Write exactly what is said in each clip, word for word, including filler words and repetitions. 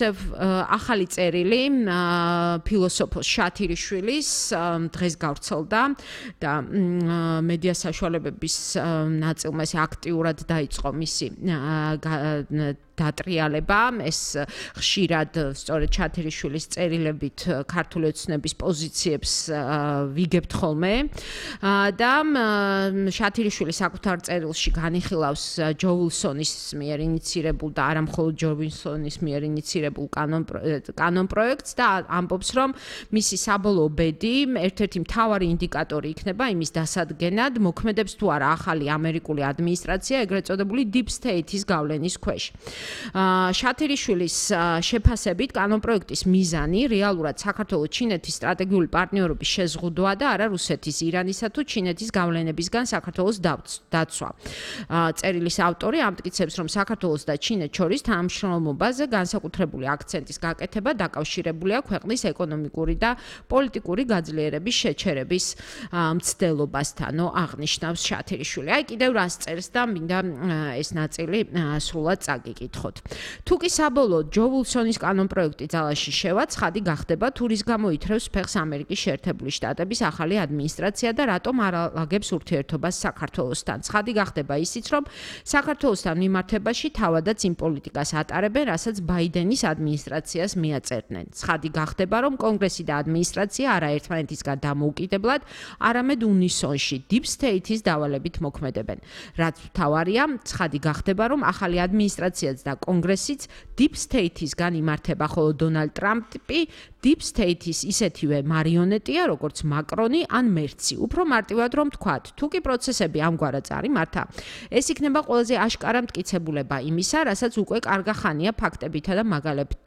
ახალი წერილი ფილოსოფოს შათირიშვილის დღეს გავრცელდა და მედია საშუალებების ნაწილმა აქტიურად დაიწყო მისი დატრიალება. ეს ხშირად სწორედ შათირიშვილის წერილებით ქართული ოცნების პოზიციებს ვიგებთ ხოლმე და შათირიშვილი საკუთარ წერილში განიხილავს ჯო უილსონის მიერ ინიცირებულ და არა მხოლოდ ჯო უილსონის მიერ ინიცირებულ კანონ პროექტს და ამბობს, რომ მისი საბოლოო ბედი ერთ-ერთი მთავარი ინდიკატორი იქნება იმის დასადგენად, მოქმედებს თუ არა ახალი ამერიკული ადმინისტრაცია, ეგრეთ წოდებული deep state-ის გავლენის ქვეშ. შათირიშვილის შეფასებით კანონპროექტის მიზანი რეალურად საქართველოს ჩინეთის სტრატეგიული პარტნიორობის შეზღუდვა და არა რუსეთის, ირანისა თუ ჩინეთის გავლენებისგან საქართველოს დაცვა. წერილის ავტორი ამტკიცებს, რომ საქართველოს და ჩინეთს შორის თანამშრომლობაზე განსაკუთრებული აქცენტის გაკეთება დაკავშირებულია ქვეყნის ეკონომიკური და პოლიტიკური გაძლიერების შეჩერების მცდელობასთანო აღნიშნავს შათირიშვილი. აი კიდევ რას წერს და მინდა ეს ნაწილი სრულად წაგიკითხოთ. თუ კი საბოლოოდ ჯო უილსონის კანონპროექტი ძალაში შევა, ცხადი გახდება თუ რის გამო ითრევს ფეხს ამერიკის შეერთებული შტატების ახალი ადმინისტრაცია და რატომ არ ალაგებს ურთიერთობას საქართველოსთან. ცხადი გახდება ისიც, რომ საქართველოსთან მიმართებაში თავადაც იმ პოლიტიკას ატარებენ, რასაც ბაიდენის ადმინისტრაციას მიაწერდნენ. ცხადი გახდება, რომ კონგრესი და ადმინისტრაცია არა ერთმანეთისგან დამოუკიდებლად, არამედ უნისონში deep state-ის დავალებით მოქმედებენ. რაც მთავარია, ცხადი გახდება, რომ ახალი ადმინისტრაციაც და კონგრესიც deep state-ისგან იმართება, ხოლო დონალდ ტრამპი deep state-ის ისეთივე მარიონეტია, როგორც მაკრონი ან მერცი. უფრო მარტივად რომ ვთქვათ, თუ კი პროცესები ამგვარად წარიმართა, ეს იქნება ყველაზე აშკარა მტკიცებულება იმისა, რასაც უკვე კარგა ხანია ფაქტებითა და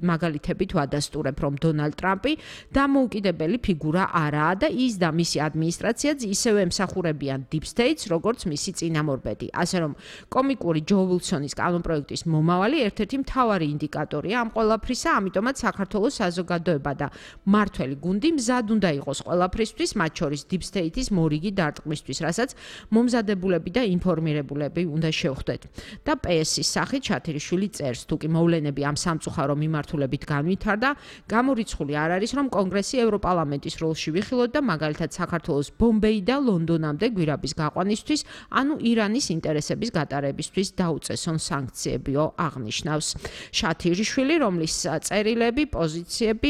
მაგალითებით ვადასტურებ, რომ დონალდ ტრამპი დამოუკიდებელი ფიგურა არაა და ის და მისი ადმინისტრაციაც ისევე ემსახურებიან deep state-ს, როგორც მისი წინამორბედი. ასე რომ კომიკური ჯო უილსონის კანონპროექტის მომავალი ერთ-ერთი მთავარი ინდიკატორია ამ ყველაფრისა, ამიტომაც საქართველოს საზოგადოება და მართველი გუნდი მზად უნდა იყოს ყველაფრისთვის, მათ შორის deep state-ის მორიგი დარტყმისთვის, რასაც მომზადებულები და ინფორმირებულები უნდა შევხვდეთ. და პე ეს-ის სახით შათირიშვილი წერს, თუ კი მოვლენები ამ სამწუხარო მიმართულებით განვითარდა, გამორიცხული არ არის, რომ კონგრესი ევროპარლამენტის როლში ვიხილოთ და მაგალითად საქართველოს ბომბეი და ლონდონამდე გვირაბის გაყვანისთვის, ანუ ირანის ინტერესების გატარებისთვის დაუწესონ სანქციებიო აღნიშნავს შათირიშვილი, რომლის წერილები, პოზიციები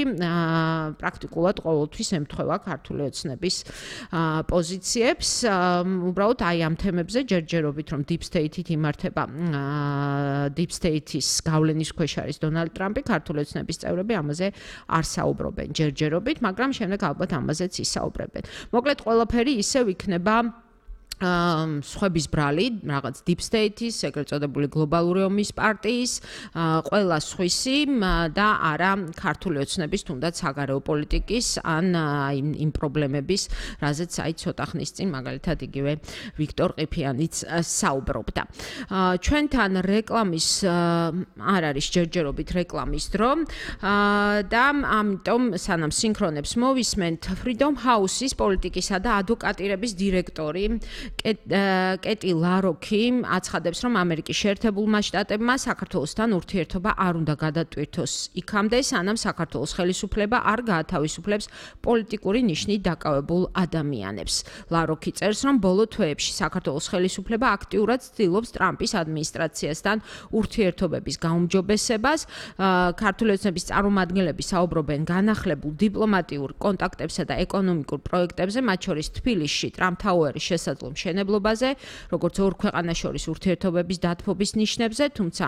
პრაქტიკულად ყოველთვის ემთხვევა ქართული ოცნების პოზიციებს. უბრალოდ აი ამ თემებზე ჯერჯერობით, რომ deep state-ით იმართება deep state-ის გავლენის ქვეშ არის დონალდ ტრამპი, ქართული ოცნების წევრები ამაზე არ საუბრობენ ჯერჯერობით, მაგრამ შემდეგ ალბათ ამაზეც ისაუბრებენ. მოკლედ ყველაფერი ისევ იქნება სხვების ბრალი, რაღაც deep state-ის, ეგრეთ წოდებული გლობალური ომის პარტიის, ყველა სხვისი და არა ქართული ოცნების, თუნდაც საგარეო პოლიტიკის ან იმ პრობლემების, რაზეც აი ცოტა ხნის წინ მაგალითად იგივე ვიქტორ ყიფიანიც საუბრობდა. ჩვენთან რეკლამის არ არის ჯერჯერობით რეკლამის დრო და ამიტომ სანამ სინქრონებს მოვისმენთ, Freedom House-ის პოლიტიკისა და ადვოკატირების დირექტორი კეტი ლაროკი აცხადებს, რომ ამერიკის შეერთებულმა შტატებმა საქართველოსთან ურთიერთობა არ უნდა გადატვირთოს იქამდე, სანამ საქართველოს ხელისუფლება არ გაათავისუფლებს პოლიტიკური ნიშნით დაკავებულ ადამიანებს. ლაროკი წერს, რომ ბოლო თვეებში საქართველოს ხელისუფლება აქტიურად ცდილობს ტრამპის ადმინისტრაციასთან ურთიერთობების გაუმჯობესებას. ქართული ოცნების წარმომადგენლები საუბრობენ განახლებულ დიპლომატიურ კონტაქტებსა და ეკონომიკურ პროექტებზე, მათ შორის თბილისში ტრამპ თაუერის შესაძლო მშენებლობაზე, როგორც ორ ქვეყანას შორის ურთიერთობების დათბობის ნიშნებზე, თუმცა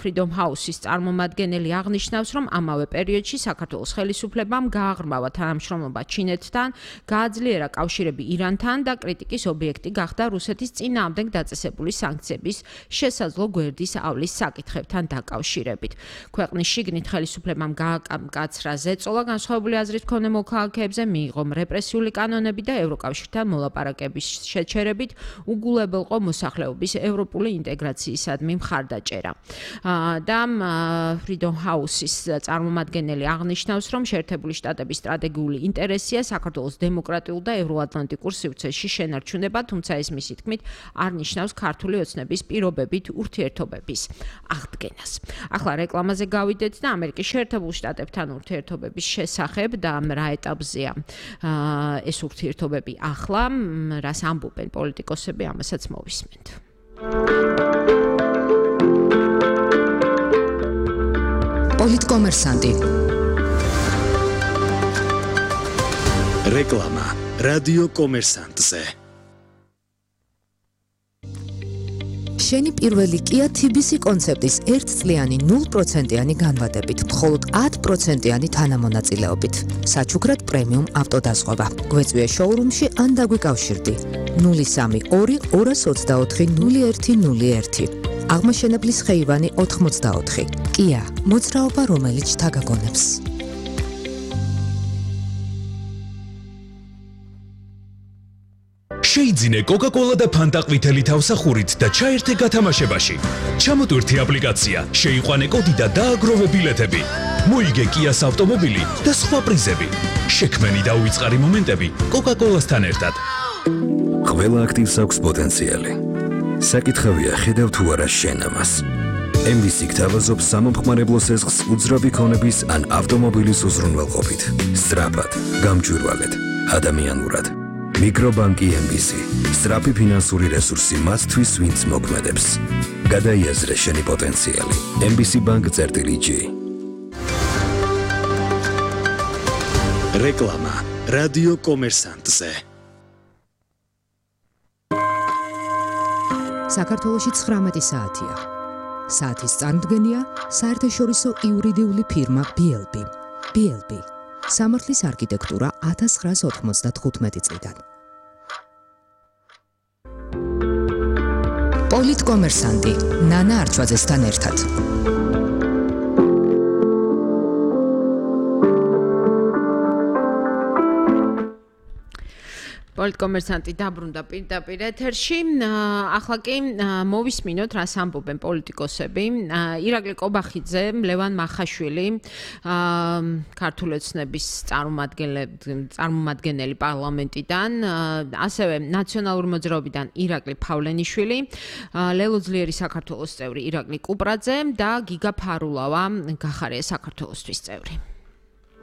Freedom House-ის წარმომადგენელი აღნიშნავს, რომ ამავე პერიოდში საქართველოს ხელისუფლებამ გააღრმავა თანამშრომლობა ჩინეთთან, გააძლიერა კავშირები ირანთან და კრიტიკის ობიექტი გახდა რუსეთის წინააღმდეგ დაწესებული სანქციების შესაძლო გვერდის ავლის საკითხებთან დაკავშირებით. ქვეყნის შიგნით ხელისუფლებამ გააკაცრა ზეწოლა განსხვავებული აზრის მქონე მოქალაქეებზე, მიიღო რეპრესიული კანონები და ევროკავშირთან მოლაპარაკების შეჩერებით უგულებელყო მოსახლეობის ევროპული ინტეგრაციისადმი მხარდაჭერა. და Freedom House-ის წარმომადგენელი აღნიშნავს, რომ შეერთებული შტატების სტრატეგიული ინტერესია საქართველოს დემოკრატიულ და ევროატლანტიკურ სივრცეში შენარჩუნება, თუმცა ეს მისი თქმით არ ნიშნავს ქართული ოცნების პირობებით ურთიერთობების აღდგენას. ახლა რეკლამაზე გავიდეთ და ამერიკის შეერთებულ შტატებთან ურთიერთობების შესახებ და რა ეტაპზეა ეს ურთიერთობები ახლა, რას ამბობენ პოლიტიკოსები, ამასაც მოვისმენთ. პოლიტკომერსანტი. რეკლამა რადიო კომერსანტზე. შენი პირველი Kia T B C კონცეპტის ერთწლიანი ნულ პროცენტიანი განვადებით, მხოლოდ ათი პროცენტიანი თანამონაწილეობით. საჩუქრად პრემიუმ ავტოდაზღვევა. გვეწვია შოურუმში ან დაგვიკავშირდი. ნული სამი ორი ორას ოცდაოთხი ნული ერთი ნული ერთი. აღმაშენებლის ხეივანი ოთხმოცდაოთხი. Kia, მოძრაობა რომელიც თაგაგონებს. შეიძინე Coca-Cola და Fanta ყვითელი თავსახურით და ჩაერთე გათამაშებაში. ჩამოტვირთი აპლიკაცია, შეიყვანე კოდი და დააგროვე ბილეთები. მოიგე Kia-ს ავტომობილი და სხვა პრიზები. შექმენი და უიწყარი მომენტები Coca-Cola-სთან ერთად. ყველა აქტივს აქვს პოტენციალი. საკითხავია, ხედავ თუ არა შენ ამას. M V C გთავაზობს სამომხმარებლო სესხს უძრავი ქონების ან ავტომობილის უზრუნველყოფით. სწრაფად, გამჭვირვალედ, ადამიანურად. მიკრობანკი M V C. სწრაფი ფინანსური რესურსი მათთვის, ვინც მოქმედებს. გადაიაზრე შენი პოტენციალი. M V C Bank წერტილი G. რეკლამა რადიო კომერსანტზე. საქართველოში ცხრამეტი საათია. საათის წარმოდგენია საერთაშორისო იურიდიული ფირმა B L B. B L B. სამართლის არქიტექტურა ათას ცხრაას ოთხმოცდათხუთმეტი წლიდან. პოლიტკომერსანტი ნანა არჩვაძესთან ერთად. პოლიტკომერსანტი დაბრუნდა პირდაპირ ეთერში. ახლა კი მოვისმინოთ, რას ამბობენ პოლიტიკოსები. ირაკლი კობახიძე, ლევან მახაშვილი, ქართული ოცნების წარმომადგენელი პარლამენტიდან, ასევე ნაციონალური მოძრაობიდან ირაკლი ფავლენიშვილი, ლელო ძლიერი საქართველოს წევრი ირაკლი კუპრაძე და გიგა ფარულავა, გახარია საქართველოსთვის წევრი.